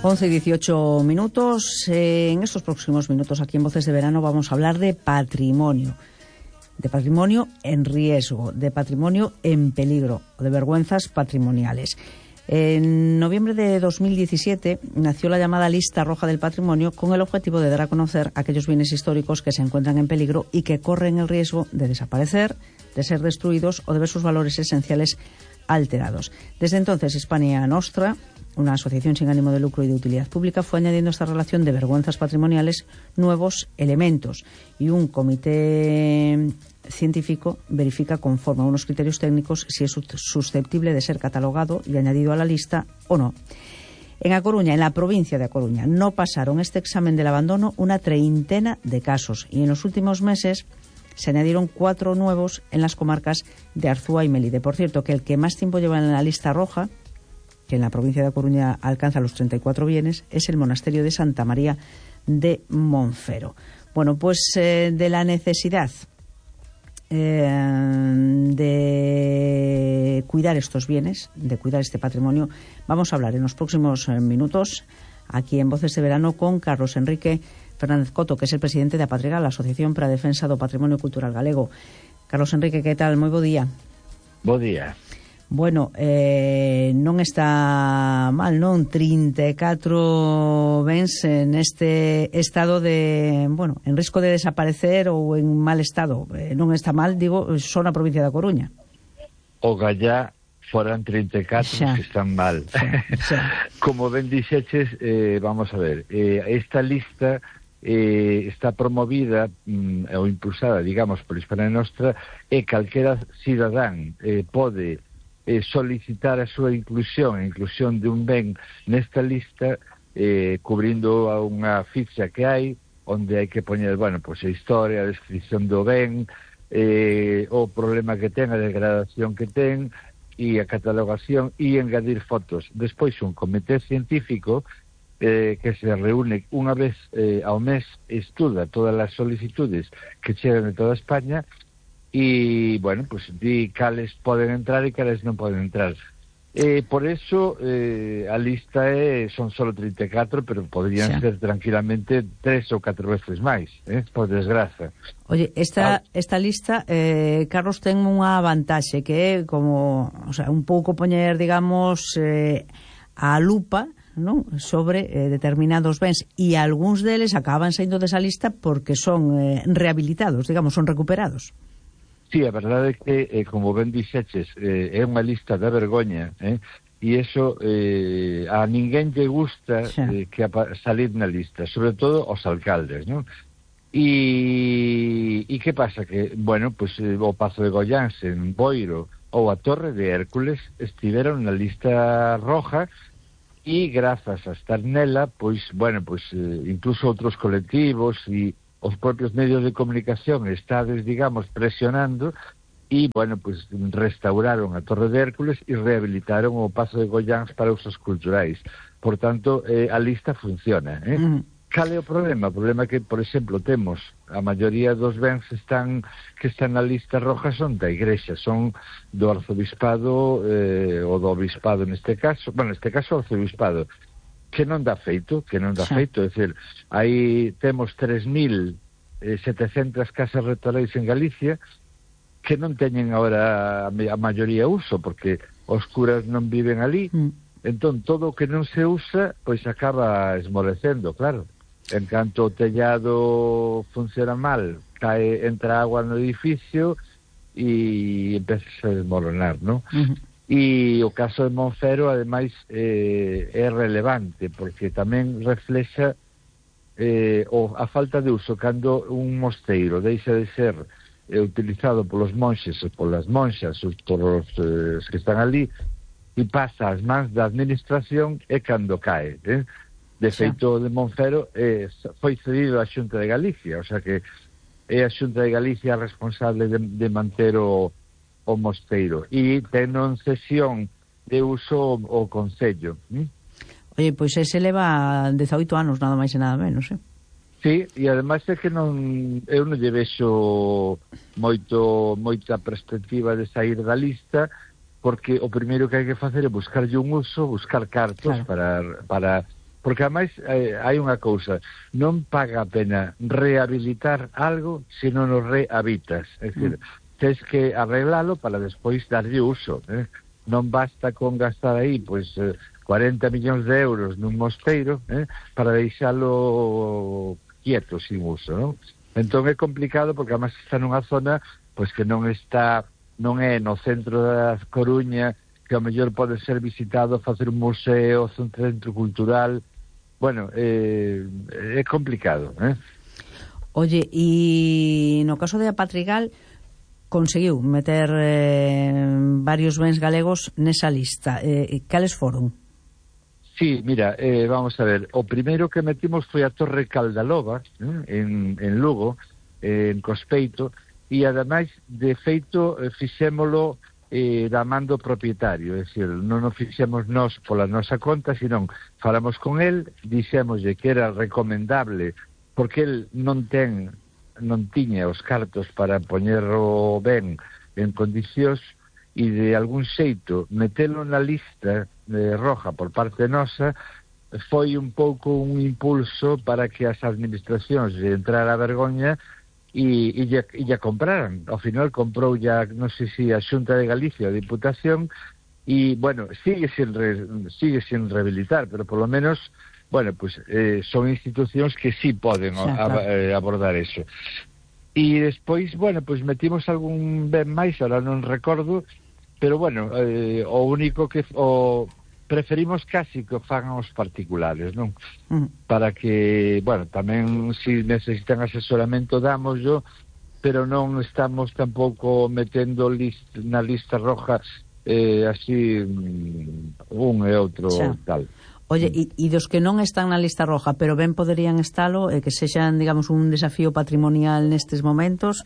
11 y 18 minutos. En estos próximos minutos aquí en Voces de Verano vamos a hablar de patrimonio en riesgo, de patrimonio en peligro, de vergüenzas patrimoniales. En noviembre de 2017 nació la llamada Lista Roja del Patrimonio con el objetivo de dar a conocer aquellos bienes históricos que se encuentran en peligro y que corren el riesgo de desaparecer, de ser destruidos o de ver sus valores esenciales alterados. Desde entonces, Hispania Nostra, una asociación sin ánimo de lucro y de utilidad pública, fue añadiendo a esta relación de vergüenzas patrimoniales nuevos elementos, y un comité científico verifica conforme a unos criterios técnicos si es susceptible de ser catalogado y añadido a la lista o no. En A Coruña, en la provincia de A Coruña, no pasaron este examen del abandono una treintena de casos, y en los últimos meses se añadieron 4 nuevos en las comarcas de Arzúa y Melide. Por cierto, que el que más tiempo lleva en la lista roja, que en la provincia de A Coruña alcanza los 34 bienes, es el monasterio de Santa María de Monfero. Bueno, pues de la necesidad de cuidar estos bienes, de cuidar este patrimonio, vamos a hablar en los próximos minutos aquí en Voces de Verano con Carlos Enrique Fernández Coto, que es el presidente de Apatriga, la Asociación para a Defensa do Patrimonio Cultural Galego. Carlos Enrique, que tal? Moi bo día. Bo día. Bueno, non está mal, non? 34 bens neste estado de, bueno, en risco de desaparecer ou en mal estado. Non está mal, digo, só na provincia da Coruña. O gallá foran 34 que están mal. Como ben dixeches, vamos a ver, esta lista está promovida ou impulsada, digamos, por Hispania Nostra, e calquera cidadán pode solicitar a súa inclusión de un ben nesta lista, cubrindo a unha ficha que hai, onde hai que poñer, bueno, pois a historia, a descripción do ben, o problema que ten, a degradación que ten, e a catalogación, e engadir fotos. Despois un comité científico que se reúne unha vez ao mes, estuda todas as solicitudes que chegan de toda España, e, bueno, pues di cales poden entrar e cales non poden entrar. Por eso a lista son solo 34, pero podrían ser tranquilamente 3 ou 4 veces máis, por desgraza. Oye, esta lista, Carlos, ten unha vantaxe que é como, o sea, un pouco poñer, digamos, a lupa, non, sobre determinados bens, e algúns deles acaban saindo desa lista porque son rehabilitados, digamos, son recuperados. Sí, a verdade é que, como ben dixeches, é unha lista de vergoña, e iso a ninguén lle gusta que salir na lista, sobre todo os alcaldes, non? E que pasa? Que, bueno, pues, o Pazo de Goiáns en Boiro ou a Torre de Hércules estiveron na lista roja, e grazas a estar nela, pois, bueno, pues, incluso outros colectivos e os propios medios de comunicación estades, digamos, presionando, e, bueno, pues restauraron a Torre de Hércules e rehabilitaron o Pazo de Goiáns para usos culturais. Por tanto, a lista funciona. Cal é o problema? O problema é que, por exemplo, temos a maioría dos bens que están na lista roja son da Igrexa, son do arzobispado, ou do obispado neste caso, bueno, neste caso o arzobispado, que non dá feito, é dicir, aí temos 3.700 casas rectorais en Galicia que non teñen agora a maioría uso, porque os curas non viven ali, entón todo o que non se usa, pois acaba esmorecendo, claro. En canto o tellado funciona mal, entra agua no edificio e empeza a desmoronar, non? E o caso de Monfero, ademais, é relevante, porque tamén reflexa a falta de uso cando un mosteiro deixa de ser utilizado polos monxes ou polas monxas ou polos que están ali, e pasa ás mans da administración, é cando cae. De feito, de Monfero foi cedido á Xunta de Galicia, o sea que é a Xunta de Galicia responsable de manter o mosteiro, e ten en cesión de uso o Concello. Oye, pois ese leva 18 anos, nada máis e nada menos, Sí, e ademais é que eu non lle vexo moita perspectiva de sair da lista, porque o primeiro que hai que facer é buscarlle un uso, buscar cartos, claro, para porque ademais hai unha cousa, non paga a pena rehabilitar algo se non o rehabitas, é dicir, tens que arreglalo para despois darlle uso, non basta con gastar aí pois 40 millóns de euros nun mosteiro para deixalo quieto, sin uso, non? Entón é complicado porque además está nunha zona pois que non é no centro da Coruña, que ao mellor pode ser visitado, facer un museo, un centro cultural. Bueno, é complicado, Oye, e no caso de Apatrigal conseguiu meter varios bens galegos nesa lista. Cales foron? Sí, mira, vamos a ver, o primeiro que metimos foi a Torre Caldaloba, en Lugo, en Cospeito, e ademais, de feito, fixémolo da man do propietario, é dicir, non o fixemos nós pola nosa conta, senón falamos con el, dixémoslle que era recomendable, porque el non tiña os cartos para poñerlo ben en condicións, e de algún xeito metelo na lista roja por parte nosa foi un pouco un impulso para que as administracións lle entrara a vergoña e ya compraran. Ao final comprou ya, non sei se a Xunta de Galicia ou a Diputación, e, bueno, sigue sin rehabilitar, pero por lo menos, bueno, pues son institucións que sí poden abordar eso. E despois, bueno, pues metimos algún ben máis, ahora non recordo, pero, bueno, o único que... preferimos casi que o fagan os particulares, non? Para que, bueno, tamén se necesitan asesoramento dámoslo, pero non estamos tampouco metendo na lista roja así un e outro tal. Oye, e dos que non están na lista roja, pero ben poderían estalo, que sexan, digamos, un desafío patrimonial nestes momentos,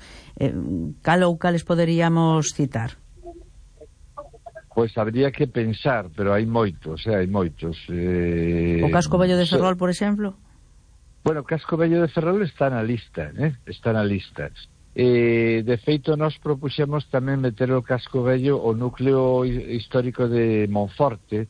cal ou cales poderíamos citar? Pois habría que pensar, pero hai moitos, hai moitos. O Casco Vello de Ferrol, por exemplo? Bueno, o Casco Vello de Ferrol está na lista, está na lista. De feito, nós propuxemos tamén meter o Casco Vello o núcleo histórico de Monforte,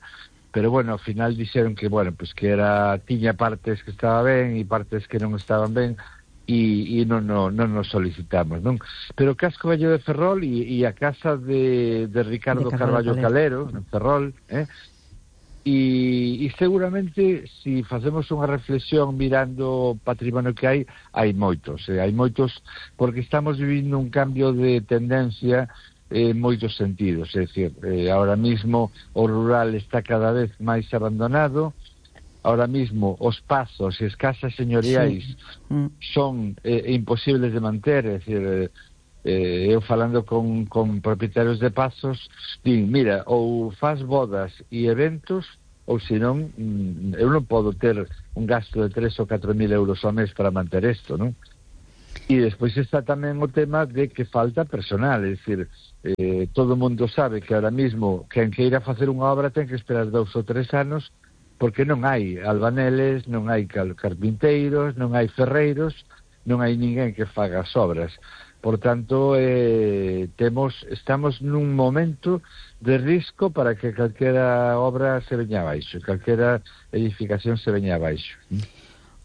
pero, bueno, ao final dixeron que, bueno, pues que tiña partes que estaba ben e partes que non estaban ben, e non nos solicitamos, non? Pero o Casco Vello de Ferrol e a casa de Ricardo Carballo Calero, en Ferrol, e seguramente, se facemos unha reflexión mirando o patrimonio que hai moitos, porque estamos vivindo un cambio de tendencia en moitos sentidos, é dicir, ahora mismo o rural está cada vez máis abandonado. Ahora mismo os pazos e as casas señoriais son imposibles de manter, é dicir, eu falando con propietarios de pazos, din, mira, ou faz bodas e eventos, ou senón, eu non podo ter un gasto de 3 ou 4 mil euros ao mes para manter isto, non? E despois está tamén o tema de que falta personal, é dicir, todo o mundo sabe que ahora mismo quen queira facer unha obra ten que esperar 2 ou 3 anos, porque non hai albaneles, non hai carpinteiros, non hai ferreiros, non hai ninguén que faga as obras. Por tanto, estamos nun momento de risco para que calquera obra se veña abaixo, calquera edificación se veña abaixo.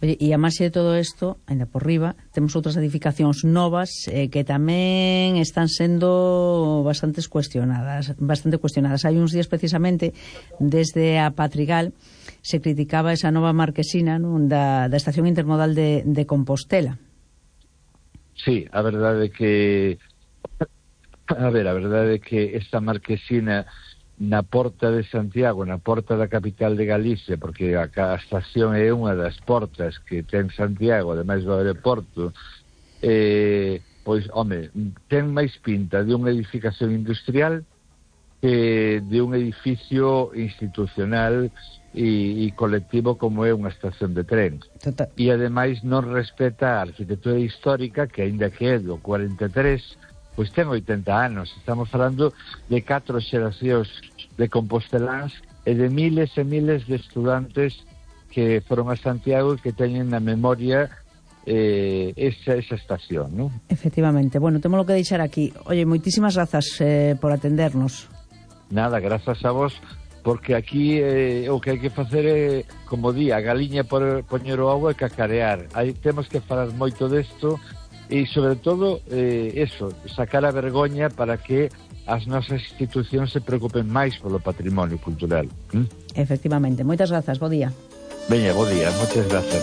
Oye, e a máis de todo isto, ainda por riba, temos outras edificacións novas que tamén están sendo bastante cuestionadas. Hai uns días, precisamente, desde a Patrigal, se criticaba esa nova marquesina, non, da estación intermodal de Compostela. Sí, a verdade que esta marquesina na porta de Santiago, na porta da capital de Galicia, porque a estación é unha das portas que ten Santiago, ademais do aeroporto, pois, home, ten máis pinta de unha edificación industrial que de un edificio institucional e colectivo como é unha estación de tren. Total. E ademais non respeta a arquitectura histórica, que aínda que é do 43, pois ten 80 anos. Estamos falando de 4 xeracións de composteláns e de miles e miles de estudantes que foron a Santiago e que teñen na memoria esa estación, non? Efectivamente. Bueno, temos que deixar aquí. Oye, moitísimas grazas por atendernos. Nada, grazas a vos porque aquí o que hai que facer é, como di, a galiña por poñer o ovo e cacarear. Temos que falar moito desto e, sobre todo, eso, sacar a vergoña para que as nosas institucións se preocupen máis polo patrimonio cultural. Efectivamente. Moitas grazas, bo día. Veña, bo día, moitas grazas.